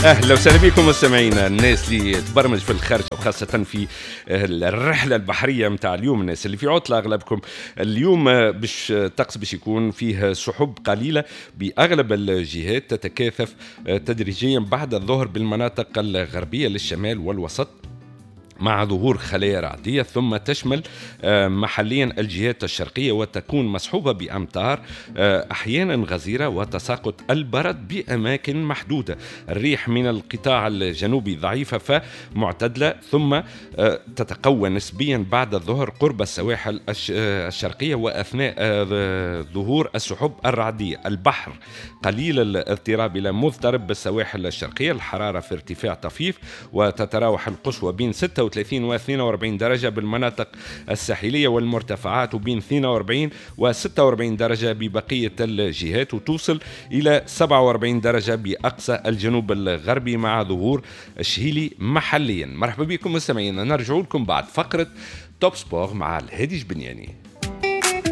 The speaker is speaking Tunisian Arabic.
اهلا وسهلا بكم مستمعينا، الناس اللي تبرمج في الخارج وخاصة في الرحلة البحرية نتاع اليوم، الناس اللي في عطله اغلبكم اليوم، باش الطقس باش يكون فيه سحب قليله باغلب الجهات، تتكاثف تدريجيا بعد الظهر بالمناطق الغربية للشمال والوسط مع ظهور خلايا رعدية، ثم تشمل محليا الجهات الشرقية وتكون مصحوبة بأمطار أحيانا غزيرة وتساقط البرد بأماكن محدودة. الريح من القطاع الجنوبي ضعيفة فمعتدلة، ثم تتقوى نسبيا بعد الظهر قرب السواحل الشرقية وأثناء ظهور السحب الرعدية. البحر قليل الاضطراب إلى مضطرب بالسواحل الشرقية. الحرارة في ارتفاع طفيف وتتراوح القصوى بين 36 و 42 درجة بالمناطق الساحلية والمرتفعات، وبين 42 و 46 درجة ببقية الجهات، وتوصل إلى 47 درجة بأقصى الجنوب الغربي مع ظهور الشهيلي محليا. مرحبا بكم مستمعينا، نرجع لكم بعد فقرة Top Sport مع الهادي جبنياني.